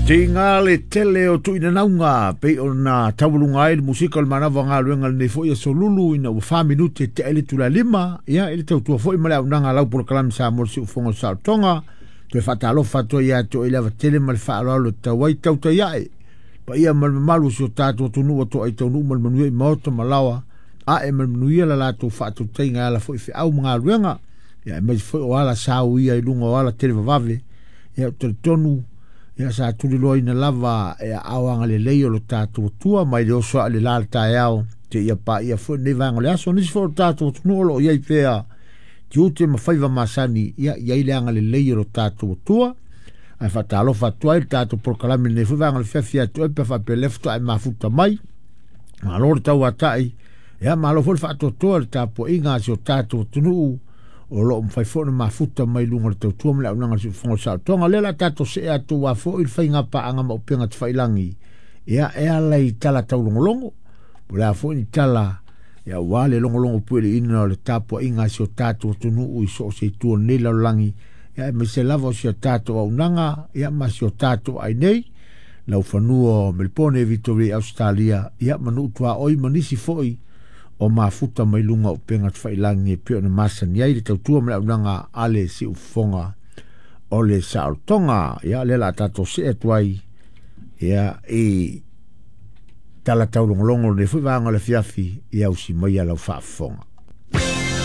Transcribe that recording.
Tiga le tele o tuuinanauga pei ona taualuga ai le musika o le manava o galuega lenei foi aso lulu ina ua 4 minute tea i le itula e 5, ia i le tautua foi ma le auaunaga a lau polokalame Samoa le Siufofoga o le Saolotoga. Toe faatalofa atu ai ia te oe i le ava tele ma le faaaloalo e tatau ai tautai ae paia ma le mamalu o si o tatou atunuu ua toai taunuu ma le manuia i maota ma laoa ae ma le manuia la latou faatautaiga e ala foi i feau ma galuega, ia aemaise foi o ala sauia i luga o ala televavave. Ia ou te talitonu ia sa tuliloaina lava e aao agalelei o lo tatou Atua mai le oso aa i le la le taeao seia paia foi lenei vaega o le aso. Nisi foi o lo tatou atunuu o lo o i ai pea tiute ma faiva masani, ia i ai le agalelei o lo tatou Atua. Ae faatalofa atu ai le tatou polokalame lenei foi vaega o le fiafi atu ai pe faapea lea faatoa e mafuta mai. Malo le tauatai, ia malo foi le faatoatoa i le tapuaiga a si o tatou atunuu o lo o mafai foi ona mafuta mai luga o le tautua ma le auaunaga a le Siufofoga o le Saolotoga. O lea o le a tatou see atu aua foi le faiga paaga ma upega tafailagi, ia e ala i tala taulogologo, po o le a foi ni tala ia aua le logologo pueliina o le tapuaiga a si o tatou atunuu i so o se itu o lenei lalolagi, ia aemaise lava o si o tatou auaunaga ia ma si o tatou aai nei, laufanua o Melipone, Victoria, Ausetalia, ia ma nuu tuaoi ma nisi foi o mafuta mai luga o upega tafailagi e pei ona masani ai le tautua ma le auaunaga a le Siufofoga o le Saolotoga. Ia lea o le a tatou see atu ai ia i tala taulogologo o lenei foi vaega o le afiafi, ia usi maia lau faafofoga.